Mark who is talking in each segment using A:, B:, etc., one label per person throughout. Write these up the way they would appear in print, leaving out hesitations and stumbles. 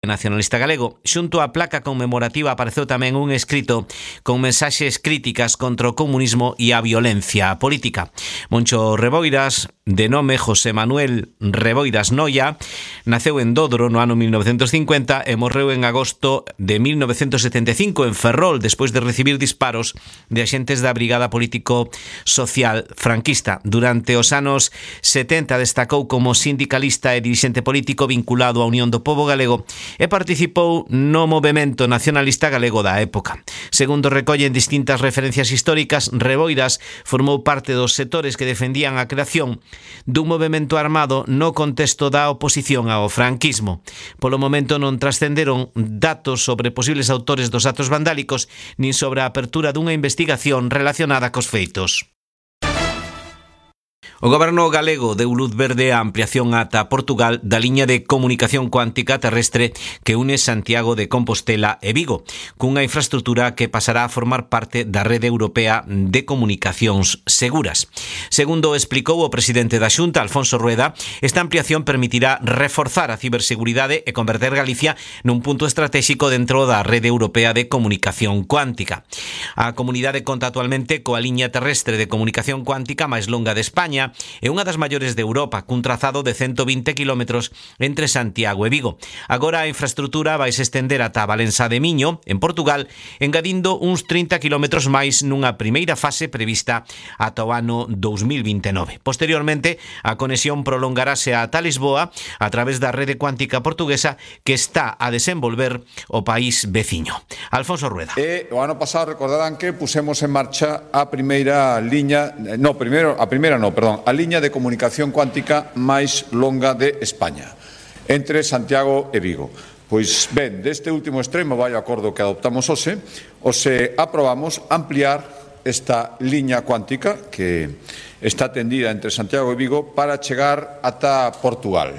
A: Nacionalista galego. Xunto á placa conmemorativa apareceu tamén un escrito con mensaxes críticas contra o comunismo e a violencia política. Moncho Reboiras, de nome José Manuel Reboiras Noia, naceu en Dodro no ano 1950 e morreu en agosto de 1975 en Ferrol despois de recibir disparos de axentes da Brigada Político Social franquista. Durante os anos 70 destacou como sindicalista e dirixente político vinculado á Unión do Pobo Galego e participou no movemento nacionalista galego da época. Segundo recollen distintas referencias históricas, Reboiras formou parte dos sectores que defendían a creación dun movemento armado no contexto da oposición ao franquismo. Polo momento non trascenderon datos sobre posibles autores dos actos vandálicos nin sobre a apertura dunha investigación relacionada cos feitos. O Goberno galego deu luz verde á ampliación ata Portugal da liña de comunicación cuántica terrestre que une Santiago de Compostela e Vigo, cunha infraestrutura que pasará a formar parte da Rede Europea de Comunicacións Seguras. Segundo explicou o presidente da Xunta, Alfonso Rueda, esta ampliación permitirá reforzar a ciberseguridade e converter Galicia nun punto estratégico dentro da Rede Europea de Comunicación Cuántica. A comunidade conta actualmente coa liña terrestre de comunicación cuántica máis longa de España é unha das maiores de Europa, cun trazado de 120 km entre Santiago e Vigo. Agora a infraestrutura vai se estender ata Valença de Miño, en Portugal, engadindo uns 30 km máis nunha primeira fase prevista ata o ano 2029. Posteriormente, a conexión prolongarase ata Lisboa a través da rede cuántica portuguesa que está a desenvolver o país veciño. Alfonso Rueda.
B: O ano pasado recordarán que pusemos en marcha a primeira liña, a liña de comunicación cuántica máis longa de España, entre Santiago e Vigo. Pois ben, deste último extremo vai o acordo que adoptamos hoxe aprobamos ampliar esta liña cuántica que está tendida entre Santiago e Vigo para chegar ata Portugal.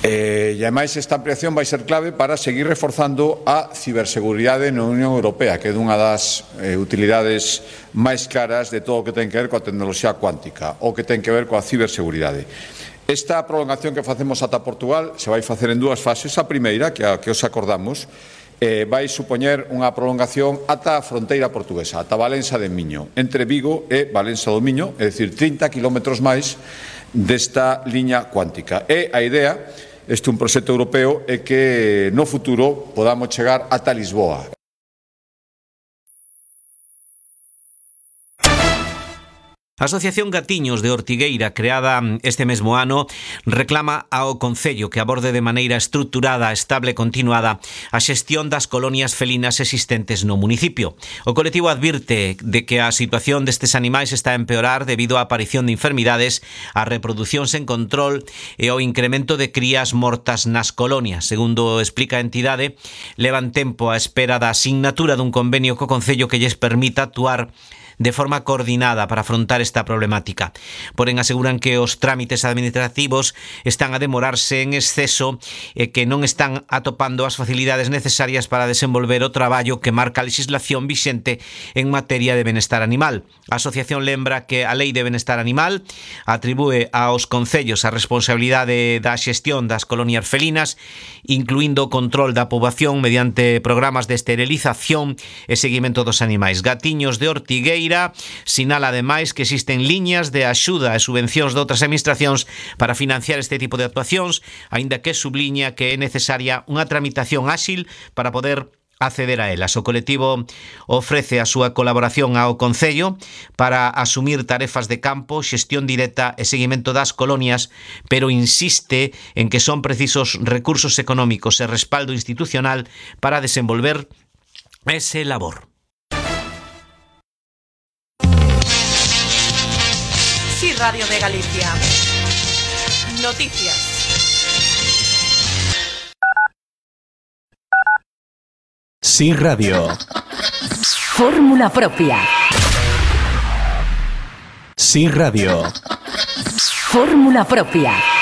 B: E ademais esta ampliación vai ser clave para seguir reforzando a ciberseguridade na Unión Europea, que é unha das utilidades máis claras de todo o que ten que ver coa tecnoloxía cuántica, ou que ten que ver coa ciberseguridade. Esta prolongación que facemos ata Portugal se vai facer en dúas fases. A primeira, que é a que os acordamos, vai supoñer unha prolongación ata a fronteira portuguesa, ata Valença de Miño, entre Vigo e Valença do Miño, é dicir, 30 km máis desta liña cuántica. E a idea, este é un proxecto europeo, é que no futuro podamos chegar ata Lisboa.
A: A Asociación Gatiños de Ortigueira, creada este mesmo ano, reclama ao Concello que aborde de maneira estruturada, estable e continuada a xestión das colonias felinas existentes no municipio. O colectivo advirte de que a situación destes animais está a empeorar debido á aparición de enfermidades, a reproducción sen control e ao incremento de crías mortas nas colonias. Segundo explica a entidade, levan tempo á espera da asignatura dun convenio co Concello que lles permita actuar de forma coordinada para afrontar esta problemática. Porén, aseguran que os trámites administrativos están a demorarse en exceso e que non están atopando as facilidades necesarias para desenvolver o traballo que marca a legislación vixente en materia de benestar animal. A asociación lembra que a Lei de Benestar Animal atribúe aos concellos a responsabilidade da xestión das colonias felinas, incluindo o control da poboación mediante programas de esterilización e seguimento dos animais. Gatiños de Ortigueira sinala ademais que existen liñas de axuda e subvencións de outras administracións para financiar este tipo de actuacións, aínda que subliña que é necesaria unha tramitación áxil para poder acceder a elas. O colectivo ofrece a súa colaboración ao Concello para asumir tarefas de campo, xestión directa e seguimento das colonias, pero insiste en que son precisos recursos económicos e respaldo institucional para desenvolver ese labor.
C: Sí, Radio de Galicia. Noticias.
D: Sí, Radio.
E: Fórmula propia.
D: Sí, Radio.
E: Fórmula propia.